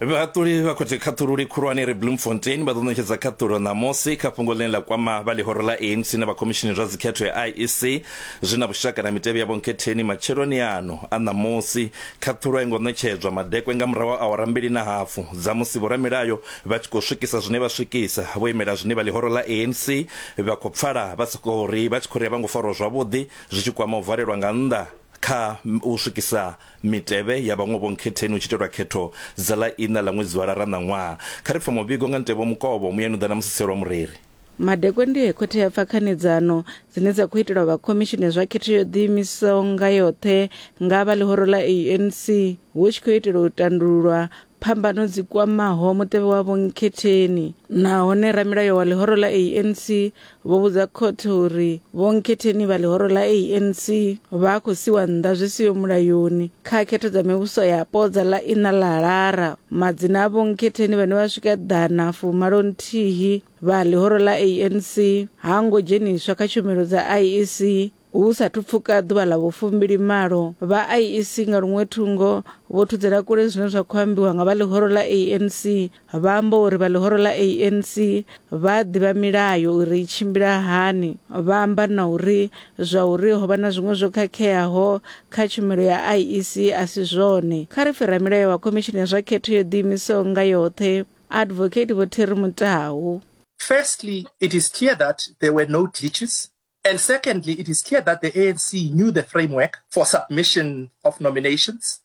Vhahaṱuli vha khothe khaṱhululi khulwane ri Bloemfontein vha ḓo ṋetshedza khaṱhulo ṋamusi kha fhungo ḽine ḽa kwama vha ḽihoro ḽa ANC na vha khomishini zwa dzikhetho ya IEC zwi na vhushaka na mitevhe ya vhonkhetheni matsheloni ano a ṋamusi. Khaṱhulo a i ngo ṋetshedzwa madekwe nga murahu ha awara mbili na hafu dza musi vhoramilayo vha tshi khou swikisa zwine vha swikisa vho imela zwine vha ḽihoro ḽa ANC vha khou pfala vha sokou ri vha tshi khou ri a vha ngo farwa zwavhuḓi zwi tshi kwama u valelwa nga nnḓa kha u swikisa mitevhe ya vhaṅwe vhonkhetheni hu tshi itelwa khetho dza ḽa iṋa ḽa ṅwedzi wa Lara ṋaṅwaha. Kha ri pfe muvhigo nga Ntevho Mukovho, muyani u ḓa na Musiselwa Mureri. Madekwe ndi he khothe ya pfa khanedzano dzine dza khou itelwa vha khomishini ya zwa khetho yo ḓiimisaho nga yoṱhe nga vha ḽihoro ḽa ANC hu tshi khou itelwa u tandululwa phambano dzi kwamaho mutevhe wa vhonkhetheni. Nahone ramilayo wa ḽihoro ḽa ANC vho vhudza khothe uri vhonkhetheni vha ḽihoro ḽa ANC vha khou siwa nnḓa zwi siho mulayoni kha khetho dza mivhuso yapo dza ḽa iṋa ḽa Lara. Madzina a vhonkhetheni vhane vha swika ḓana fumalo nthihi vha ḽihoro ḽa ANC ha ngo dzheniswa kha tshumelo dza IEC Hu sathu pfuka ḓuvha ḽa vhufumbili malo, vha IEC nga luṅwe thungo vho thudzela kule zwine zwa khou ambiwa nga vha ḽihoro ḽa ANC. Vha amba uri vha ḽihoro ḽa ANC vha a ḓivha milayo uri i tshimbila hani. Vha amba na uri zwa uri ho vha na zwiṅwe zwo khakheaho kha tshumelo ya IEC a si zwone. Kha ri pfe ramilayo wa Khomishini ya zwa Khetho yo Ḓiimisaho nga Yoṱhe, Advocate Vho Terry Mutau. Firstly, it is clear that there were no glitches. And secondly, it is clear that the ANC knew the framework for submission of nominations.